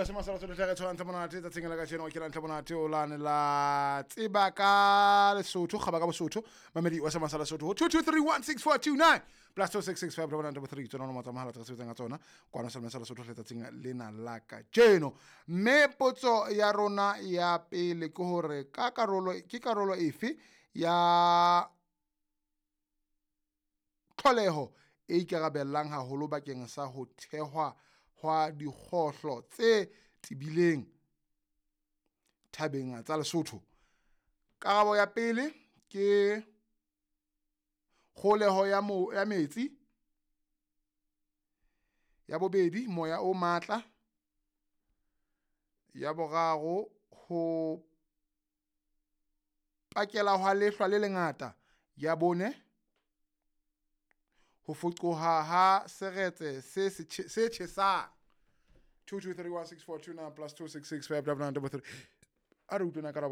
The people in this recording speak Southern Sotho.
Mamedi wa Semasala Sotho, tle re tshwarang ntle monate tsatsing la kajeno. Ke ntle monate o lane la tseba ka Lesotho, kgaba ka Bosotho. Mamedi wa Semasala Sotho, ho 22316429 plus 2665 3, tsona nomoro tsa mohala tse re sebetsang ka tsona kwano Semasala Sotho letsatsing lena la kajeno. Mme potso ya rona ya pele ke hore ka karolo ke karolo efe ya tlholeho e ikarabellang haholo bakeng sa ho thehwa hwa dikgohlo tse tebileng thabeng tsa Lesotho? Karabo ya pele ke kgoholeho ya mo ya metsi, ya bobedi moya o matla, ya boraro ho pakela hwa lehlwa le lengata, ya bone ho foqoha ha seretse se tjhesang. 22316429 plus 26659933. A re utlwe na karabo.